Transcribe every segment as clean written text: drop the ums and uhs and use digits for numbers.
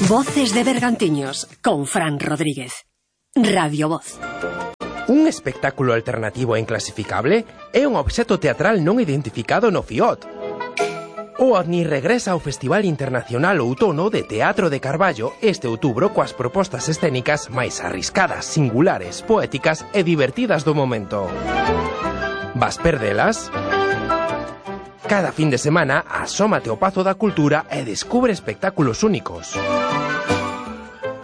Voces de Bergantiños, con Fran Rodríguez. Radio Voz. Un espectáculo alternativo e inclasificable é un obxecto teatral non identificado no FIOT. O OVNI regresa ao Festival Internacional Outono de Teatro de Carballo este outubro coas propostas escénicas máis arriscadas, singulares, poéticas e divertidas do momento. Vas perdelas? Cada fin de semana asómate ao Pazo da Cultura e descubre espectáculos únicos.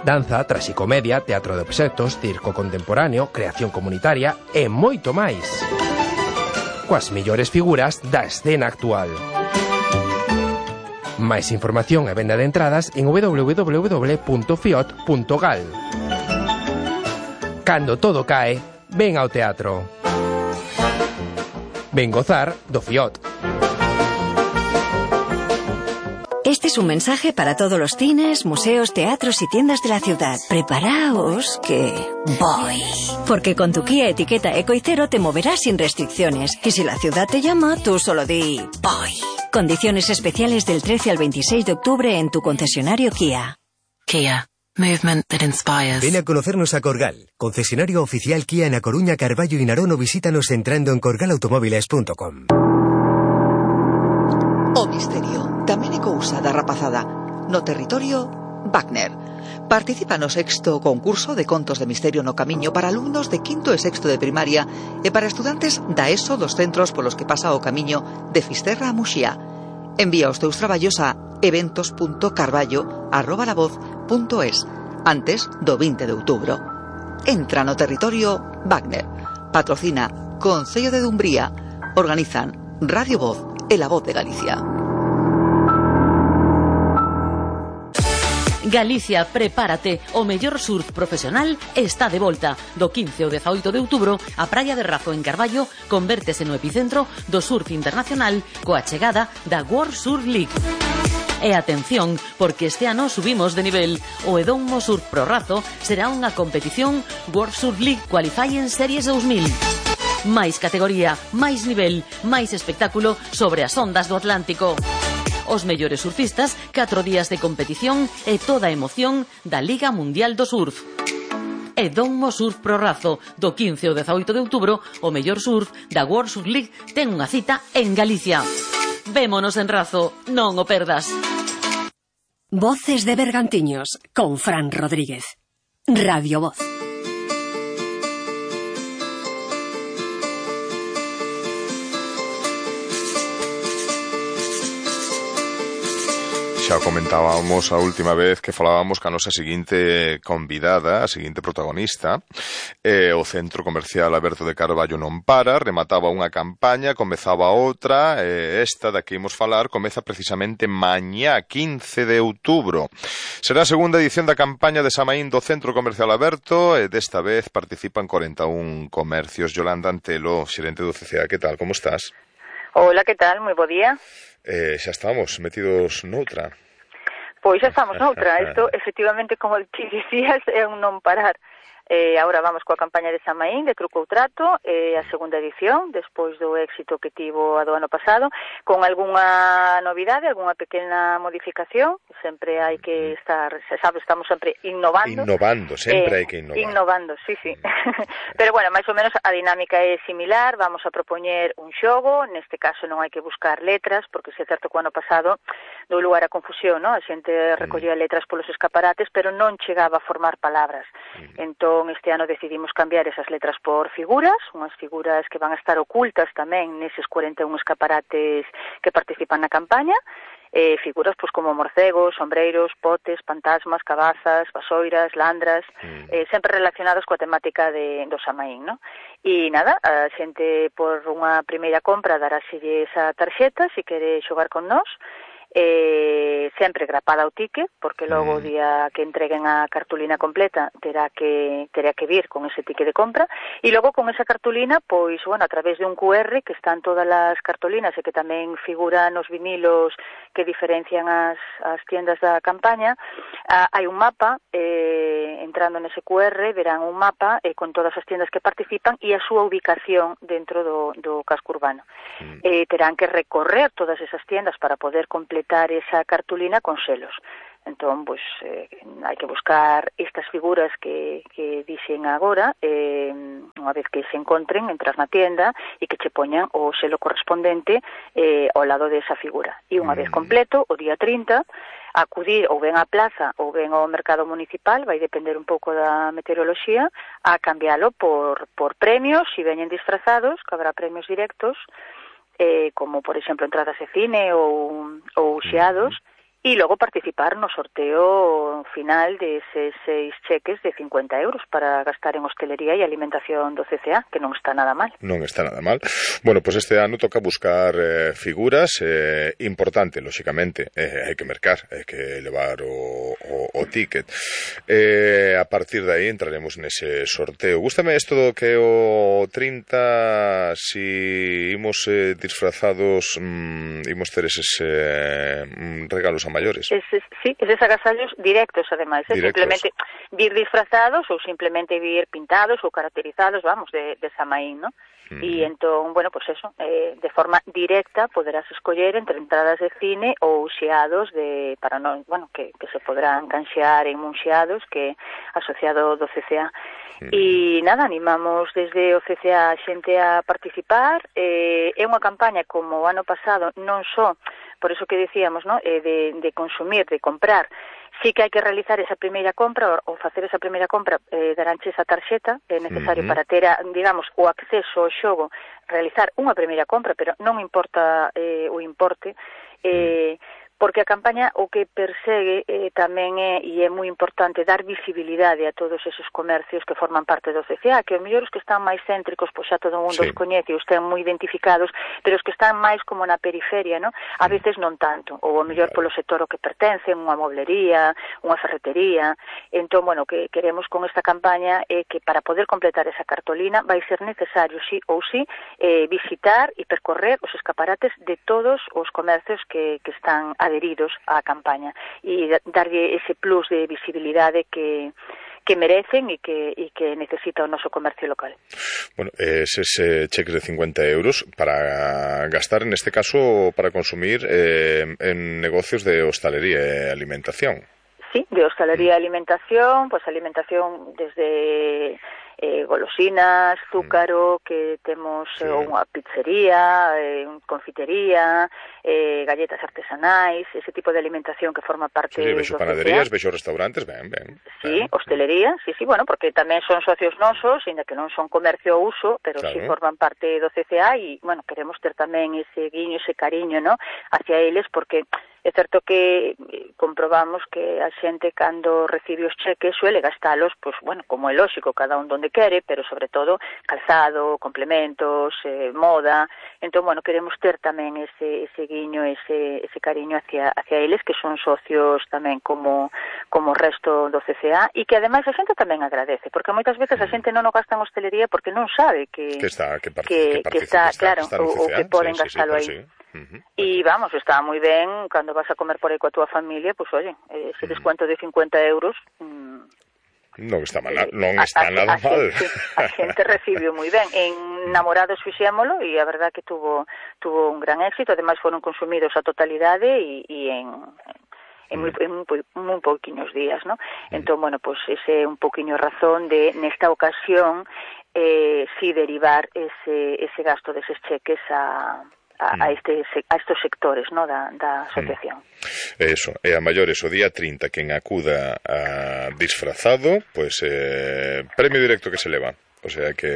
Danza, traxicomedia, teatro de obxectos, circo contemporáneo, creación comunitaria e moito máis. Coas mellores figuras da escena actual. Máis información e venda de entradas en www.fiot.gal. Cando todo cae, ven ao teatro. Ven gozar do FIOT. Este es un mensaje para todos los cines, museos, teatros y tiendas de la ciudad. Preparaos que voy. Porque con tu Kia etiqueta Eco y Cero te moverás sin restricciones. Y si la ciudad te llama, tú solo di voy. Condiciones especiales del 13 al 26 de octubre en tu concesionario Kia. Kia. Movement that inspires. Ven a conocernos a Corgal, concesionario oficial Kia en A Coruña, Carballo y Narón, o visítanos entrando en corgalautomóviles.com. O misterio tamén é cousa da rapazada. No territorio, Wagner. Participa no 6º concurso de contos de misterio no camiño para alumnos de 5º e 6º de primaria e para estudantes da ESO dos centros polos que pasa o camiño de Fisterra a Muxía. Envía os teus traballos a eventos.carballo@lavoz.es antes do 20 de outubro. Entra no territorio Wagner. Patrocina Concello de Dumbría. Organizan Radio Voz e La Voz de Galicia. Galicia, prepárate, o mellor surf profesional está de volta. Do 15 ao 18 de outubro, a praia de Razo en Carballo convértese no epicentro do surf internacional coa chegada da World Surf League. E atención, porque este ano subimos de nivel. O Edomo Surf Pro Razo será unha competición World Surf League Qualifying Series 2000. Máis categoría, máis nivel, máis espectáculo sobre as ondas do Atlántico. Os mellores surfistas, 4 días de competición e toda a emoción da Liga Mundial do Surf. Edomo Surf Pro Razo, do 15 ao 18 de outubro, o mellor surf da World Surf League ten unha cita en Galicia. Vémonos en Razo, non o perdas. Voces de Bergantiños, con Fran Rodríguez. Radio Voz. Xa comentábamos a última vez que falábamos ca nosa seguinte convidada, a seguinte protagonista. O Centro Comercial Aberto de Carballo non para, remataba unha campaña, comezaba outra, esta da que imos falar comeza precisamente mañá, 15 de outubro. Será a segunda edición da campaña de Samaín do Centro Comercial Aberto e desta vez participan 41 comercios. Yolanda Antelo, xerente do CCA, que tal, como estás? Hola, que tal? Moi bo día. Xa estamos metidos noutra. Pois xa estamos noutra. Isto, efectivamente, como ti dicías, é un non parar. Agora vamos coa campaña de Samaín, de Truco ou Trato, a segunda edición, despois do éxito que tivo a do ano pasado, con algunha novidade, algunha pequena modificación. Sempre hai que estar, sabes, estamos sempre innovando. Innovando, sempre hai que innovar. Innovando, sí. Pero, bueno, máis ou menos a dinámica é similar. Vamos a propoñer un xogo, neste caso non hai que buscar letras, porque se é certo que o ano pasado dou lugar a confusión, non? A xente recollía letras polos escaparates, pero non chegaba a formar palabras. Entón, este ano decidimos cambiar esas letras por figuras, unhas figuras que van a estar ocultas tamén neses 41 escaparates que participan na campaña, figuras pois como morcegos, sombreiros, potes, fantasmas, cabazas, vasoiras, landras, sempre relacionados coa temática do Samaín, non? E nada, a xente por unha primeira compra daráselle esa tarxeta se quere xogar con nós, sempre grapada ao ticket, porque logo o día que entreguen a cartulina completa terá que vir con ese ticket de compra, e logo con esa cartulina, pois, bueno, a través de un QR que están todas as cartulinas e que tamén figuran os vinilos que diferencian as tiendas da campaña, hai un mapa, entrando nese QR verán un mapa con todas as tiendas que participan e a súa ubicación dentro do casco urbano. Terán que recorrer todas esas tiendas para poder completar esa cartulina con selos. Entón, pois, hai que buscar estas figuras que dixen agora, unha vez que se encontren, entras na tienda e que che poñan o selo correspondente ao lado desa figura. E unha vez completo, o día 30, acudir ou ben á plaza ou ben ao mercado municipal, vai depender un pouco da meteoroloxía, a cambialo por premios, se veñen disfrazados, que habrá premios directos, como, por exemplo, entradas de cine ou xeados, e logo participar no sorteo final deses 6 cheques de 50 euros para gastar en hostelería e alimentación do CCA, que non está nada mal. Non está nada mal. Bueno, pues este ano toca buscar figuras, importante, lóxicamente, hai que mercar, hai que levar o ticket. A partir de aí entraremos nese sorteo. Gústame isto do que o 30, si imos disfrazados, imos ter eses regalos a maiores. Sí, eses agasallos directos, ademais, simplemente vir disfrazados ou simplemente vir pintados ou caracterizados, vamos, de Samaín, ¿no? E entón, bueno, pues eso, de forma directa poderás escoller entre entradas de cine ou xeados para non, bueno, que se poderán canxear en un xeados que asociado do CCA. E nada, animamos desde o CCA a xente a participar. É unha campaña como o ano pasado, non só por eso que decíamos, ¿no? De consumir, de comprar. Sí que hai que realizar esa primeira compra ou facer esa primeira compra, daranche esa tarxeta, é necesario para ter, digamos, o acceso ao xogo, realizar unha primeira compra, pero non importa o importe, porque a campaña o que persegue tamén e é moi importante dar visibilidade a todos esos comercios que forman parte do CCA, que os mellores que están máis céntricos, pois xa todo o mundo os coñece, os ten moi identificados, pero os que están máis como na periferia, ¿no? A veces non tanto, ou o mellor polo sector ao que pertencen, unha moblería, unha ferretería. Entón, bueno, que queremos con esta campaña é que para poder completar esa cartolina vai ser necesario, sí ou sí, visitar e percorrer os escaparates de todos os comercios que están adheridos á campaña e darlle ese plus de visibilidade que merecen e que necesita o noso comercio local. Bueno, eses cheques de 50 euros para gastar, en este caso, para consumir en negocios de hostalería e alimentación. Sí, de hostalería e alimentación, pues alimentación desde golosinas, zúcaro, que temos unha pizzería, confitería, galletas artesanais, ese tipo de alimentación que forma parte do vexo panaderías, vexo restaurantes, ben. Sí, hostelería, sí, bueno, porque tamén son socios nosos, ainda que non son comercio ao uso, pero sí forman parte do CCA e, bueno, queremos ter tamén ese guiño, ese cariño, ¿no?, hacia eles, porque é certo que comprobamos que a xente cando recibe os cheques suele gastalos, pois, bueno, como é lóxico, cada un donde quere, pero sobre todo calzado, complementos, moda. Entón, bueno, queremos ter tamén ese guiño, ese cariño hacia eles, que son socios tamén como o resto do CCA, e que ademais a xente tamén agradece, porque moitas veces a xente non o gasta en hostelería porque non sabe que está, claro, ou que poden gastalo aí. E vamos, está moi ben cando vas a comer por aí coa túa familia, pois oye, ese descuento de 50 euros non está mal, non está nada mal. A xente recibiu moi ben. En Namorados fixémolo e a verdad que tuvo un gran éxito, ademais foron consumidos a totalidade e en moi pouquiños días, ¿no? Entón, bueno, pues ese é un pouquiño razón de, nesta ocasión, si derivar ese gasto deses cheques a estos sectores, ¿no?, da asociación. Eso, e a maiores o día 30 quen acuda disfrazado, pues premio directo que se leva. O sea que,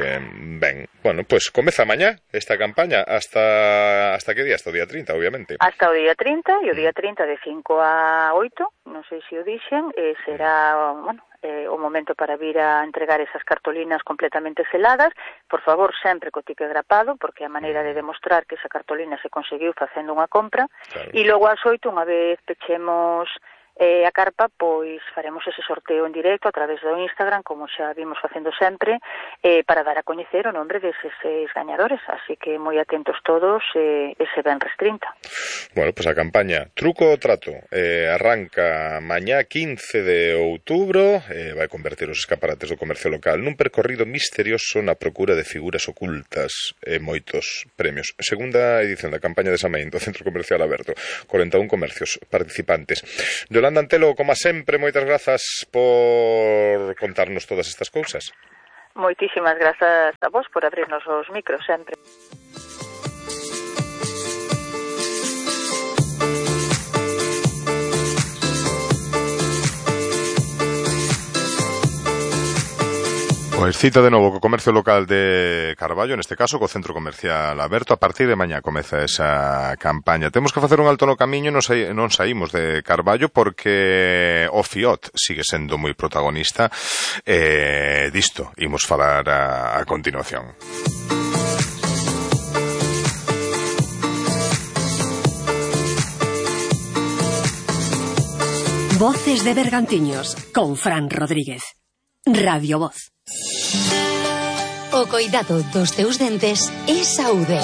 ben, bueno, pues comeza mañá esta campaña hasta que día? Hasta o día 30, obviamente. Hasta o día 30, e o día 30 de 5 a 8, non sei se o dixen, será, bueno, o momento para vir a entregar esas cartolinas completamente seladas, por favor, sempre co ticket grapado, porque é a maneira de demostrar que esa cartolina se conseguiu facendo unha compra, e logo ás 8, unha vez pechemos a carpa, pois faremos ese sorteo en directo a través do Instagram, como xa vimos facendo sempre, para dar a coñecer o nombre deses 6 gañadores, así que moi atentos todos ese venres 30. Bueno, pois a campaña Truco o Trato arranca mañá 15 de outubro, vai converter os escaparates do comercio local nun percorrido misterioso na procura de figuras ocultas e moitos premios. Segunda edición da campaña de Samaín do Centro Comercial Aberto, 41 comercios participantes. Yolanda Antelo, como sempre, moitas grazas por contarnos todas estas cousas. Moitísimas grazas a vos por abrirnos os micros sempre. Pois cita de novo co comercio local de Carballo, neste caso co centro comercial aberto. A partir de mañá comeza esa campaña. Temos que facer un alto no camiño, non saímos de Carballo porque o FIOT sigue sendo moi protagonista. Disto imos falar a continuación. Voces de Bergantiños con Fran Rodríguez. Radio Voz. O coidado dos teus dentes é saúde.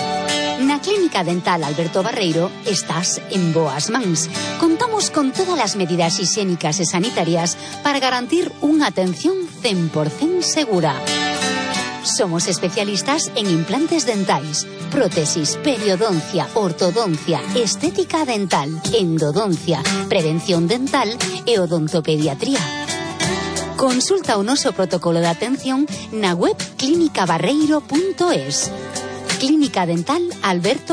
Na Clínica Dental Alberto Barreiro estás en boas mans. Contamos con todas as medidas higiénicas e sanitarias para garantir unha atención 100% segura. Somos especialistas en implantes dentais, prótesis, periodoncia, ortodoncia, estética dental, endodoncia, prevención dental e odontopediatría. Consulta o noso protocolo de atención na web clinicabarreiro.es. Clínica Dental Alberto